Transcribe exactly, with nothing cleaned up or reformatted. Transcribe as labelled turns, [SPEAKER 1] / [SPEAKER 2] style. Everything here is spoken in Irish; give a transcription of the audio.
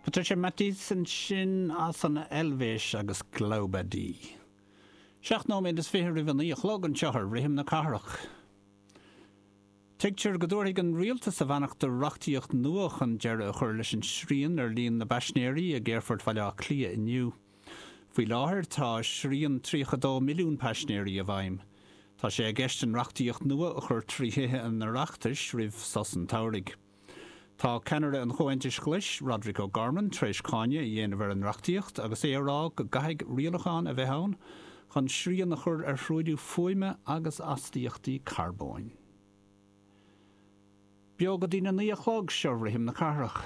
[SPEAKER 1] Patricia Mathis ansin as an Eilvéis agus Glaube die. Seacht nóiméad is fiche roimh a naoi a chlog anseo ar Rithim na Cathrach. Tuigtear go dtabharfaidh an rialtas a bheannacht do reachtaíocht nua chun deireadh a chur leis an srian ar líon na bpaisinéirí ag Aerfort Bhaile Átha Cliath inniu. Faoi láthair tá srian tríocha dó milliún paisinéirí i bhfeidhm. Tá sé i gceist an reachtaíocht nua a chur trí Thithe an Oireachtais roimh sos an tsamhraidh. Tá ceannaire an Chomhaontais Ghlais, Roderic O'Gorman, tar éis cáineadh a dhéanamh ar an reachtaíocht agus é ag rá go gcaithfidh rialacháin a bheith ann chun srian a chur ar thruailliú fuaime agus astaíochtaí carbóin. Beo go dtí a naoi a chlog seo Rithim na Cathrach.